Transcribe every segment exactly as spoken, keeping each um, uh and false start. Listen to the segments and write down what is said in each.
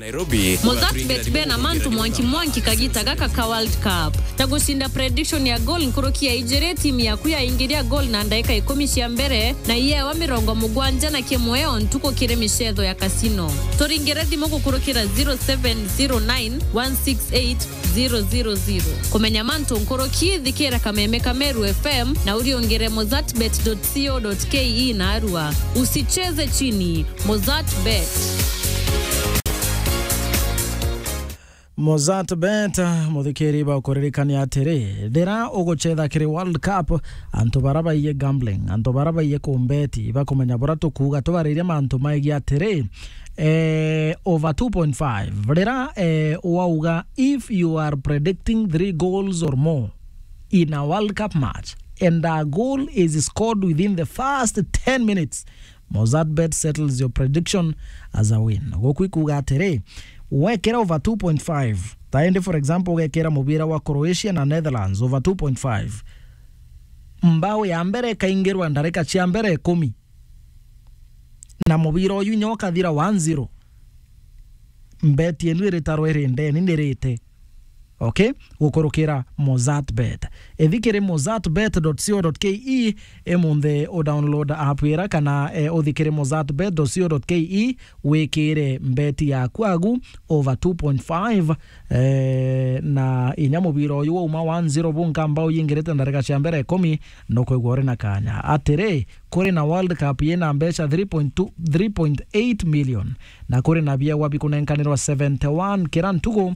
Nairobi. Mozart Bet bena mantu mwanki mwanki kagita gaka ka World Cup. Ta gucinda prediction ya goal nkuruki ya ijiri, timu yaku yaingiria goal na ndaika ikumi cia mbere, na iyewa mirongo mugwanja na kimwe o ntuku kiri micetho ya casino. Turingire thimu gukurukira zero seven zero nine one six eight zero zero zero. Kumenya mantu nkuruki, thikira Kameme ka Meru F M na uriungire mozartbet dot co dot K E na arua. Usicheze chini. Mozart Bet. Mozart Bet, muthikiri, bakuririkania atiri, rira ugucetha kiri World Cup, antu bara baiye gambling, antu bara baiye kumbeti, bakumenya bura tukuuga, tubariria mantu maigi atiri, eh, over two point five. Rira, eh, wauga, if you are predicting three goals or more in a World Cup match, and a goal is scored within the first ten minutes, Mozart Bet settles your prediction as a win. Guku ikuuga atiri, wekira over two point five, ta indi, for example, ugekira mubira wa Croatia na Netherlands over two point five, mbao ya mbere ikaingirwa ndarika cia mbere ikumi, na mubira uyu inya ukathira one zero, mbeti yenu iritarwa iri ndeni nirite. Okay? Gukurukira Mozart Bet. Ithi kiri mozart bet dot co dot K E, imunthi u download app ira kana, eh, uthi kiri mozart bet dot co dot K E, wikire mbeti yaku agu over two point five, eh, na inya mubira uyu wauma one zero bunka mbao yingirite ndarika cia mbere ikumi, nukwigua uri na kanya. Atiri, kuri na World Cup yina mbeca three point two, three point eight million, na kuri na biawa bikunenkanirwa seventy one kira ntugu,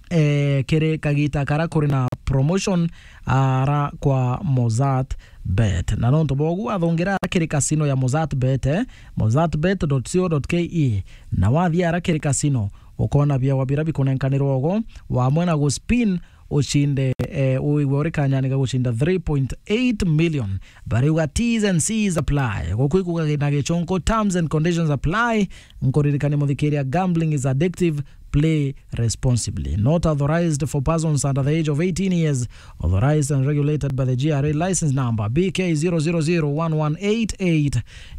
eh, kiri kagita kara kuri na promotion ara kwa Mozart Bet. Na nontu bogu, wathungira ara kiri casino ya Mozart Bet, eh, mozart bet dot co dot K E, na wathia ara kiri casino, ukona biawa bira bikunenkanirwa ugo, wamwe na guspin, ucinde, eh, uigwe uri kanyani ga gucinda three point eight million. Bariuga T's and C's apply. Guku ikuuga na gichunku, terms and conditions apply. Nkuririkania muthikiria, gambling is addictive. Play responsibly. Not authorized for persons under the age of eighteen years. Authorized and regulated by the G R A license number B K zero zero zero one one eight eight.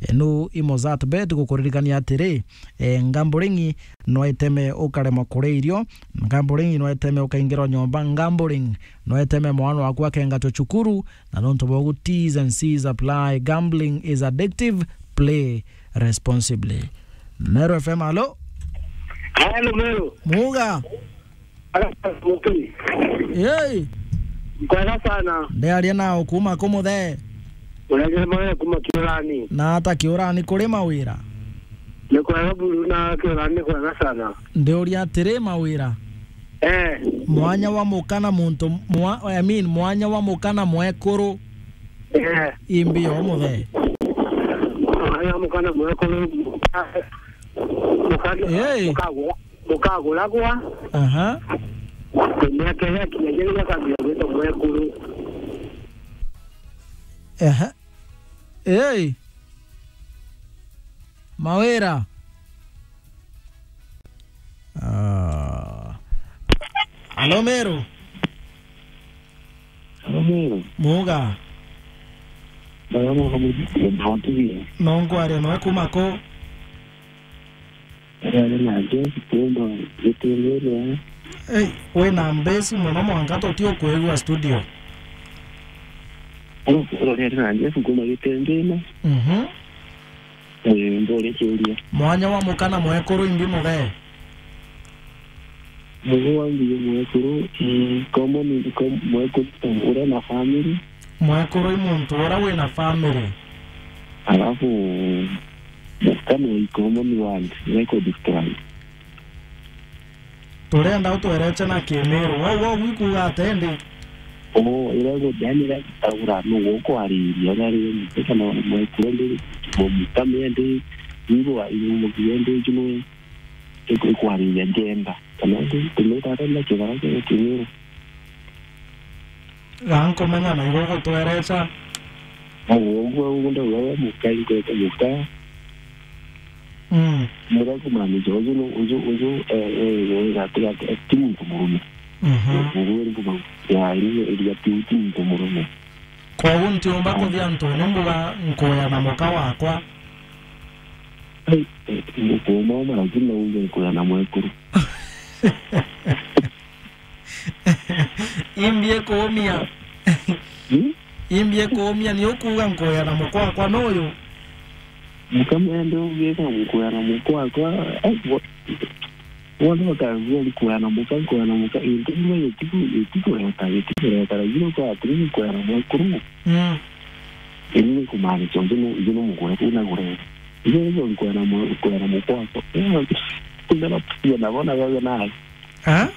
Enu i Mozart Bet gukuririkania atiri, eh, gambling no iteme ukaremwa kuria irio, gambling no iteme ukaingirwa nyomba, gambling no iteme mwana waku akengatwa cukuru, na nontu bogu T's and C's apply. Gambling is addictive, play responsibly. Meru F M, alo? Hello, Meru. Muga? Ala, mukini. Hey! Kwega sana. Ndiaria nao kuma ku muthe? Unaje mwe kuma Kiurani. Na ata Kiurani kuri mawira? Ni kwega buru na Kiurani ni kwega sana. Ndiuria atiri, mawira? Eh. Mwanya wa muka na muntu mwa-, I mean, mwanya wa muka na mwekuru. Eh. Imbi o muthe? Mwanya wa muka na mwekuru, muka-, muka-, Hey. mukagwa. Ukaguragwa. Aha. Miaka iria kinya riria akambia gwitwa mwekuru. Aha. Ei. Mawira. Ah. Alo, Meru. Alo, Meru. Muga. Baba, muga, muga, muga, muga. No nkwaria no kuma ku? Ari na Jeff Kumba, Gitengere. Ei, wina mbesi mono mwanka tuti ukwigua studio. Ari na Jeff Kumba, Gitengere. Mhm. Eh, ndore kiuria. Mwanya wa muka na mwekuru imbi muthe? Mugo wa mbigo mwekuru, mm, common, com-, mwekuru uria na family. Mwekuru i muntu uria wina family. Alafu, muka no i common word, record strike. Turenda utwereche na Kimiru. Wau, wau ikuuga atia indi? Oo, iria gu-, yani iria gutaura nu gukwariria, uria ri muka kana mwekuru ndi, muka ndi, igo, igo muka ndi, kino ikwariria njenda. Kana ndi, ndi tata na kibara kia Kimiru. Ga nkumenya na igo gutwerecha. Uguo, uguo, uguo ndauga we muka, ingwete muka. Mm. Muria kumaanisha uju nu, uju, uju, eh, eh, eh, gati, gati, eh, ti muntu murume. Mhm. Uguo ni kumaanisha, ya, ni, ni, ti, ti muntu murume. Koguo ntiumba kuthia ntune mbuga nkuya na muka wakwa. Ai, eh, ngukuuma uma, lakini no uge nkwea na mwekuru. Imbi ikuumia. Hmm? Imbi ikuumia, ni ukuuga nkwea na mukwakwa nuyu? Mukamende ugika nkwea na mukwakwa, ai, bo-, bonthe bakagua nkwea na muka, nkwea na muka, into bimwe gitiku-, gitikureta, gitikureta, lakini ukwatiri nkwea na mwekuru. Mm. Ini ni kumaanisha uju nu, uju nu mugure, unagure. Ijo nijo nkwera mu-, nkwera mukwakwa. Ndara kuona bona gaga naye. Ha?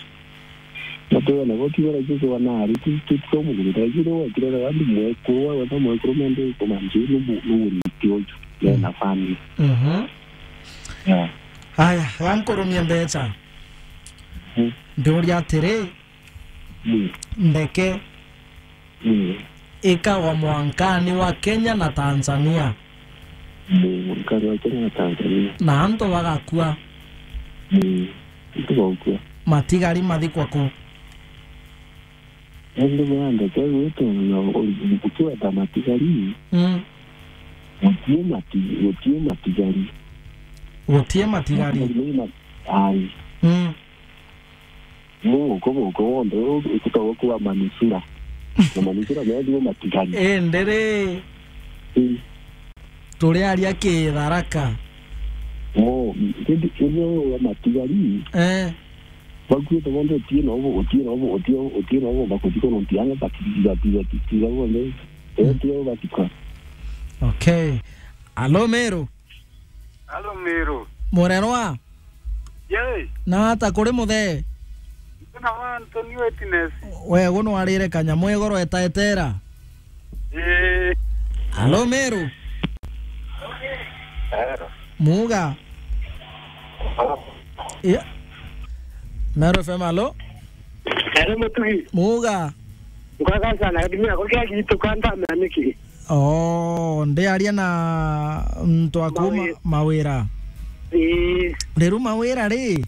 Natwe bona boki bara kiko naari, tu, tu, tu mugure. Ijo ni wakire na wandi mwekuru, wa wata mwekuru mende kumaanisha nu mu-, nu muriti uju. Mm. Na family. Mhm. Yeah. Aya, gankurumie mbecha. Mm. Ndiuria atiri, Mm. ndeke Mm. ikagwa mwankani wa Kenya na Tanzania. Mm, mwankani wa Kenya na Tanzania. Na antu bagakua. Mm, antu bagakua. Matigari mathikwa ku? Indi bwa ndeke gwitu na uri-, ukiweta matigari. Mm. Gutie mati-, gutie matigari. Gutie matigari. Matigari ni ma-, ai. Mm. Muguko, muguko wonthe uu utagwa kuwa manusura. Na manusura meethirwe matigari. Indi ri, Mm. turiaria kitharaka. Mo, indi, indi wa matigari, Eh. bakuite bonthe utie na ubu, utie na ubu, utie, utie na ubu, bakuthikwa nontu anga bati-, bati-, bati-, bati-, bonthe. Eh, Mm. tio batikwa. Okay. Alo, Meru. Alo, Meru. Murerwa? Yee. Na ata kuri muthee? Ndina wa Anthony Witness. We, gu nwarire kanyamu igoro etaetera? Ii. Alo, Meru? Ero. Muga? Alo. Ya. Meru F M, alo? Ero, Mutugi. Muga? Nkwega sana, githimi yako kia gitu kanda mea niki? Oo, ndiaria na muntu aku ma-, Mawira. Mawira. Ii. Riu Mawira ri,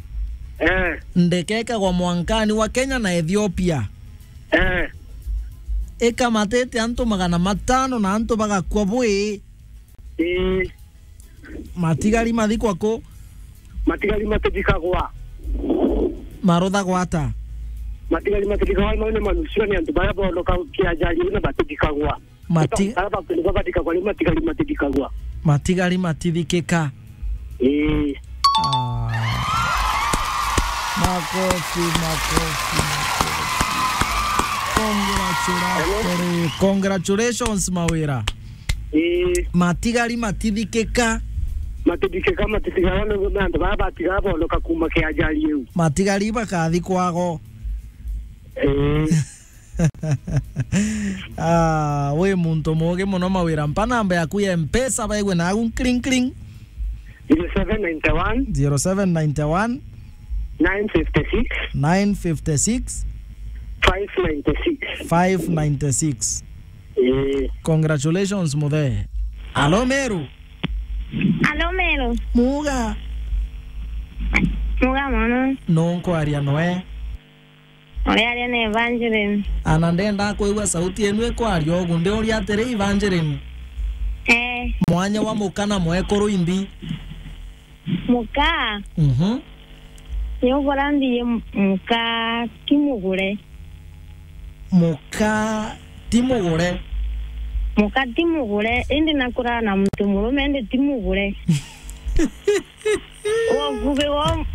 Eh. ndeke ikagwa mwankani wa Kenya na Ethiopia. Eh. Ikamatite antu magana matano na antu bagakua bwi. Ii. Matigari mathikwa ku? Matigari matithikagwa. Maruthagwa ata? Matigari matithikagwa, mau ni manusura ni antu baria bonoka kia ajali iu na batithikagwa. Mati- Bara bakuruka bathikagwa riu matigari matithikagwa. Matigari matithikika. Ii. Ah. Makofi, makofi, makofi. Congratulations. Hello? Congratulations, Mawira. Ii. Matigari matithikika. Matithikika, matithikika, ni antu bara batiga bonoka kuma kia ajali iu. Matigari bakathi kwago. Ii. Ah, wi muntu muugi muno Mawira. Mpa namba yaku ya Mpesa, baigwe nagu nkring, nkring. Zero seven nine one. Zero seven nine one. Nine fifty six. Nine fifty six. Five ninety six. Five ninety six. Ii. Congratulations, muthe. Alo, Meru. Alo, Meru. Muga. Muga mono. Nu nkwaria noe? Uriaria ni Evangeline. Ana ndenda kwigua sauti yenu ikwaria ugu, ndiuria atiri, Evangeline. Eh. Mwanya wa muka na mwekuru imbi? Muka? Mhm. Ni ugura mbi, muka ti mugure. Muka ti mugure? Muka ti mugure, indi nakuraa na muntu murume, indi ti mugure. Wokubi wo,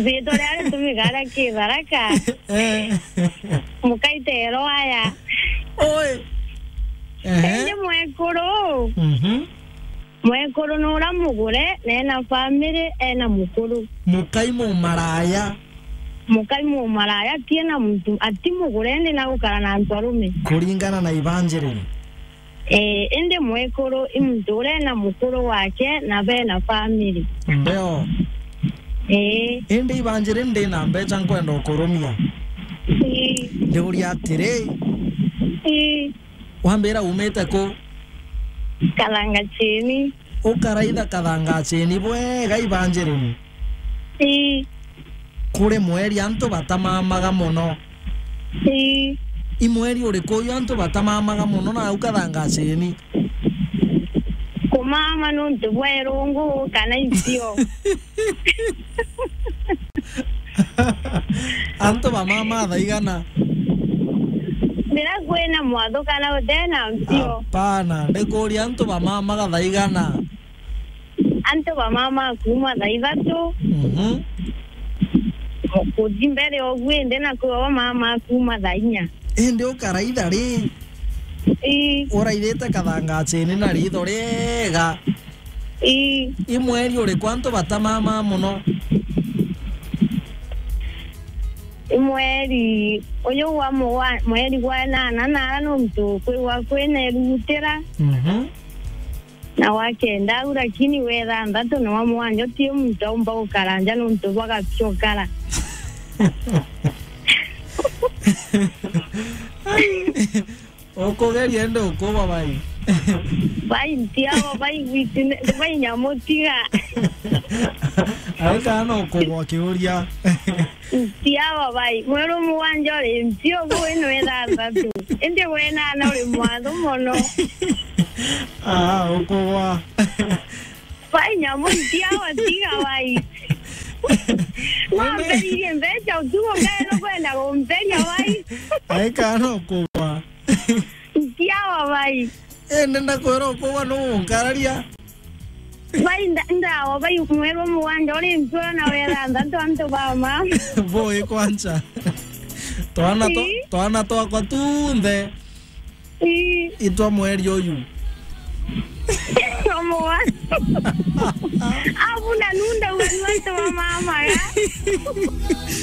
ritwa ria ritumika aria ki Tharaka. Eh. Mukaitero aya. Oi. Ehe. Indi mwekuru. Mhm. Mwekuru ni uria mugure, na ena family, ena mukuru. Mukai mumaraya. Mukai mumaraya, ti ena muntu, ati mugure, indi na gukara na antu arume. Kuringana na Evangeline. Eh, indi mwekuru i muntu uria ena mukuru wake na bena family. Mbeo. Eh. Indi Evangeline, ndi na mbecha nkwenda ukurumia. Ii. Ndiuria atiri. Ii. Wambira umite ku? Kathanga chini. Ukaraitha Kathanga chini bwega, Evangeline? Ii. Kuri mweri antu batamamaga mono. Ii. I mweri uriku uyu antu batamamaga mono na au Kathanga chini? Ku mama nontu bwa irungu kana icio. Antu ba mama thaa igana? Riria kwina mwatho kana utena mpio. Hapana, ndikuria antu ba mama ga thaa igana? Antu ba mama kuma thaa ithatu. Mhm. Kuthi mbere ogu indi na kwi ba mama kuma thaa inya. Indi ukaraitha ri? Ii. Uraithite kathangacini na ritho riega. Ii. I mweri uriku antu batamama mono? I mweri uyu wa mugwa-, mweri gwa nana, nara nontu kwigwa kwina irugutira. Mhm. Na wa kenda au, lakini wa ithanthatu na wa mugwanja uti muntu aumba gukara nja nontu bwa gaciokara. Ukugeria indi ukuba bai. Bai ntiawa, bai gwiti ne-, bai nyamu tiga. Ai kana ukugwa kiuria. Ntiawa bai. Mweru mugwanja uri mpio, kwi ni wa ithanthatu. Indi wa inana uri mwathu mono. Ah, ukugwa. Bai nyamu ntiawa tiga bai. Wamberirie mbeca utugo ngeno kwenda kumberia bai. Ai kana ukugwa. Ntiawa bai. Indi ndakwira ukugwa nu unkararia. Bai nda-, ndawa bai mweru mugwanja uri mpio na wa ithanthatu antu ba mama. Boi kwanza. Twana twa-, ii, twana twakwa tunthe. Ii. Itwa mweri uyu. Omwa. Abu na nunda uga ni antu ba mama ga.